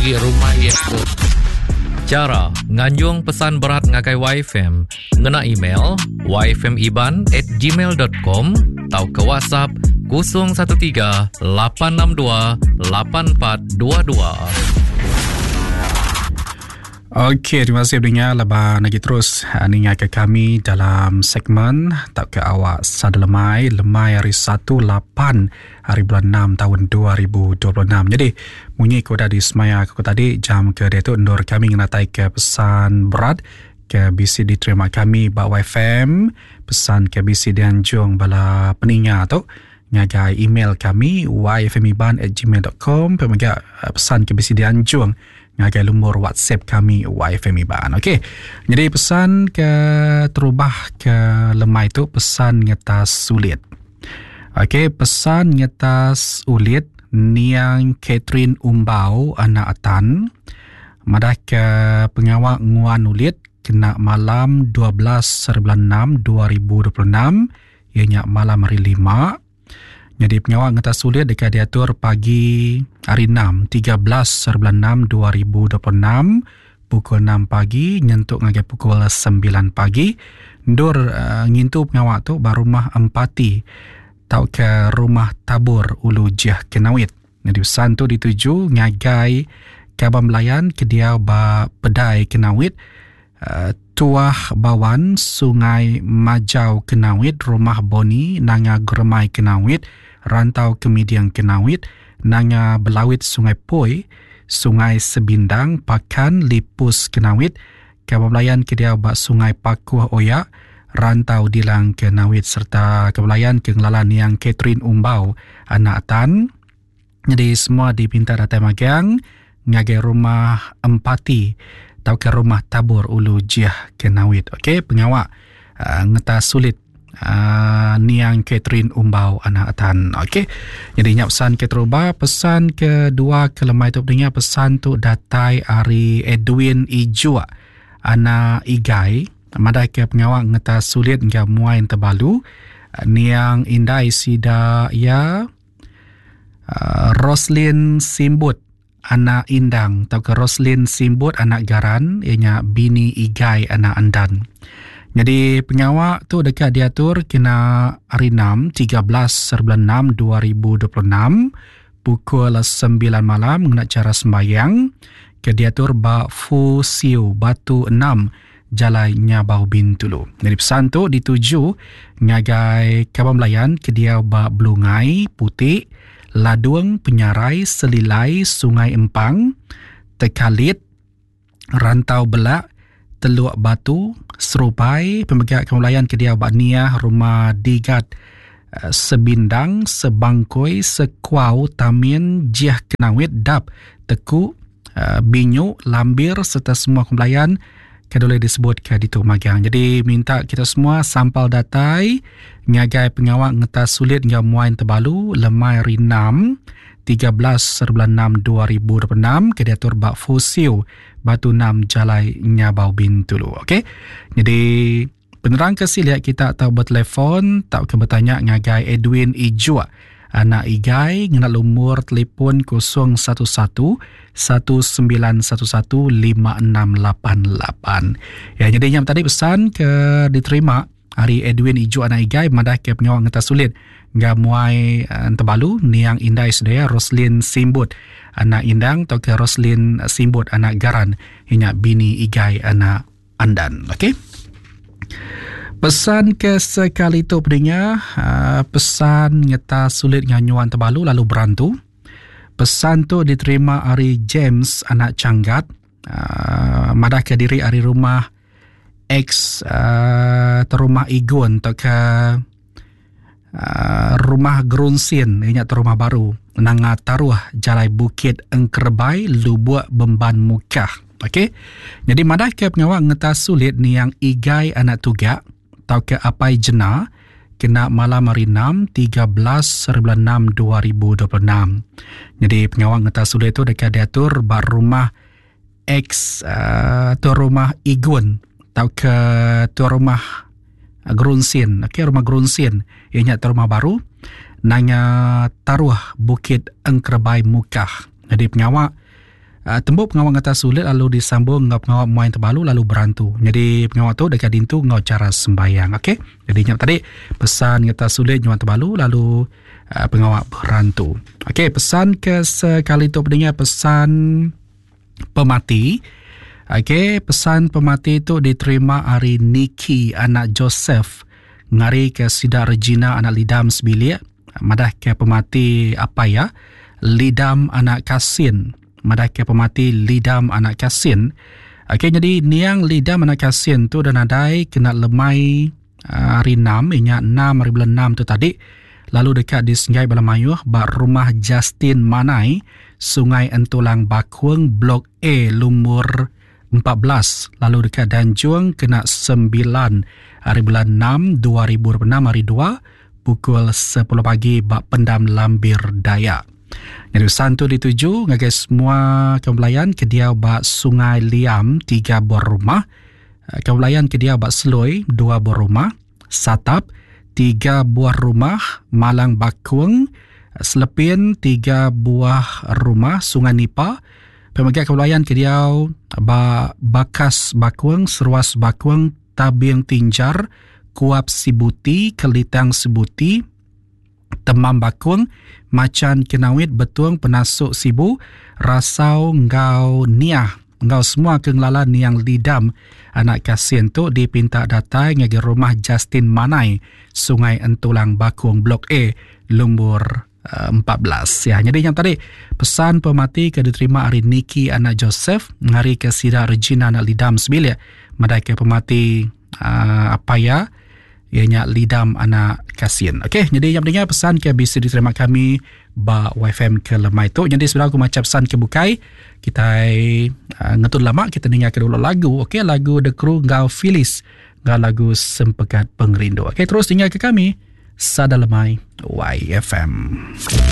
agi rumah iya tu. Chara nganjung pesan berat ngagai YFM ngena email yfmiban@gmail.com tauka WhatsApp 013 862 8422. Okey, terima kasih pendengar leban lagi terus ah, ninga ke kami dalam segmen tak ke awak sada lemai lemai hari 1 8 hari bulan 6 tahun 2026. Jadi munyi ku udah disemaya aku tadi jam ke dia tu endur kami ngenatai ke pesan berat ke bisi diterima kami ba YFM pesan ke bisi dianjung bala peninga tu ngagai email kami yfmiban@gmail.com pemega eh, pesan ke bisi dianjung ngagai lumur WhatsApp kami YFM Iban. Okey. Jadi pesan ke terubah ke lemai tu pesan ngetas sulit. Okey, pesan ngetas ulit niang Catherine Umbau anak Atan madah ke pengawa nguan ulit kena malam 12 bulan 6 2026 iya nya malam hari lima. Nyadi pengawa ngetas ulit deka diatur pagi hari 6 13 bulan 6 2026 pukul 6 pagi nyentuk ngagai pukul 9 pagi. Endur uh, ngintu pengawa tu ba rumah Empati tauka rumah Tabur Ulu Jeh Kenawit. Nyadi pesan tu dituju ngagai kaban belayan ke diau ba Pedai Kenawit, uh, Tuah Bawan, Sungai Majau Kenawit, Rumah Boni, Nanga Geremai Kenawit, Rantau Kemiding Kenawit, Nanga Belawit Sungai Poi, Sungai Sebindang, Pakan, Lipus Kenawit, Kaban Belayan ke diau ba Sungai Pakuh Oya, Rantau Dilang Kenawit sereta Kaban Belayan ke ngelala niang Catherine Umbau, anak Tan. Nyadi semua dipinta datai magang ngagai rumah Empati tauka rumah Tabur Ulu Jih Kenawit. Okey, pengawa uh, ngetas sulit uh, niang Catherine Umbau anak Tan. Okey. Jadi nya pesan ke terubah, pesan kedua ke lemai tu pendengar pesan tu datai ari Edwin Ijuk anak Igai madai ke pengawa ngetas sulit enggau muai entebalu niang indai sida iya uh, Roslyn Simbut anak Indang tauka Roslin Simbut anak Garan iya nya bini Igai anak Andan. Nyadi pengawa tu deka diatur kena hari 6 13 bulan 6 2026 pukul 9 malam ngena chara sembahyang ke diatur ba Fu Siu Batu 6 Jalai Nyabau Bintulu. Nyadi pesan tu dituju ngagai kaban belayan ke diau ba Belungai, Putik, Ladung, Penyarai, Selilai, Sungai Empang, Tekalit, Rantau Belak, Teluk Batu, Serupai, pemega kaban belayan ke diau ba Niah, Rumah Digat, eh, Sebindang, Sebangkoi, Sekuau, Tamin, Jiah Kenawit, Dap, Teku, Eh, binyu, lambir serta semua kebelayan ke boleh disebut ke ditu magang. Jadi minta kita semua sampal datai ngagai pengawa ngetas sulit enggau muai tebalu lemai hari 6 13 bulan 6 2026 ke diatur ba Fusiu Batu 6 Jalai Nyabau Bintulu. Okey. Jadi Penerang ke silik kita tau betelefon tauka betanya ngagai Edwin Ijuk anak Igai ngena lumur telefon 011 1911 5688. Ya jadi nyam tadi pesan ke diterima ari Edwin Ijuk anak Igai madah ke pengawa ngetas sulit enggau muai eh, entebalu niang indai sedaya Roslin Simbut anak Indang tauka Roslin Simbut anak Garan inya bini Igai anak Andan. Okey. Pesan ke sekali tu pendengar, uh, pesan ngeta sulit nganyuan tebalu lalu berantu. Pesan tu diterima ari James anak Changgat, uh, madah ke diri ari rumah ex uh, terumah Igun atau ke uh, rumah Gerunsin, inya rumah baru, nanga taruh jalai Bukit Engkerebai, Lubuk Bemban Mukah. Okey. Jadi madah ke pengawa ngetas sulit niang Igai anak Tugak tau ke Apai Jena kena malam hari 6 13 bulan 6 2026. Jadi pengawa ngetas sulit tu deka diatur ba rumah ex uh, tuan rumah Igun tau ke tuan rumah Gerunsin. Okey, rumah Gerunsin iya nya tuan rumah baru nanga taruh Bukit Engkerebai Mukah. Jadi pengawa. Tembu pengawa ngetas ulit lalu disambung enggau pengawa muai tebalu lalu berantu. Nyadi pengawa tu deka diintu enggau chara sembayang. Okey. Jadi nya tadi pesan ngetas ulit nyuan tebalu lalu pengawa berantu. Okey, pesan ke sekali tu pendengar pesan pemati. Okey, pesan pemati tu diterima ari Nikki anak Joseph ngari ke sida Regina anak Lidam sebilik. Madah ke pemati apai iya, Lidam anak Kasin. Madah ke pemati Lidam anak Kasin. Okey nyadi niang Lidam anak Kasin tu dah nadai kena lemai ah, hari 6 inya 6 hari bulan 6 tu tadi lalu deka disenggai bala mayuh ba rumah Justin Manai, Sungai Entulang Bakung, Blok A lumur 14 lalu deka danjung kena 9 hari bulan 6 2026 hari 2 pukul 10 pagi ba Pendam Lambir Dayak. Nyadi pesan tu dituju ngagai semua kaum belayan ke diau ba Sungai Liam tiga buah rumah, eh, kaum belayan ke diau ba Seloi dua buah rumah, Satap tiga buah rumah, Malang Bakung, Selepin tiga buah rumah, Sungai Nipa, Pemega kaum belayan ke diau ba Bakas Bakung, Seruas Bakung, Tabing Tinjar, Kuap Sibuti, Kelitang Sibuti, Temam Bakung, Machan Kenawit, Betung, Penasuk Sibu, Rasau enggau Niah enggau semua ke ngelala Niang Lidam anak Kasin tu dipinta datai ngagai rumah Justin Manai, Sungai Entulang Bakung Blok A, Lumbur 14. Ya, jadi yang tadi pesan pemati ke diterima ari Nikki anak Joseph ngari ke sida Regina anak Lidam sebilik madai ke pemati uh, apa ya ianya Lidam anak Kasin. Okey, jadi yang pentingnya pesan ke bisa diterima kami ba YFM ke lemai tu. Jadi sebelum aku maca pesan ke bukai, kita uh, ngetun lama kita dengar ke dulu lagu. Okey, lagu The Crew enggau Phyllis enggau lagu Sempekat Pengerindu. Okey, terus tinggal ke kami. Sada Lemai YFM.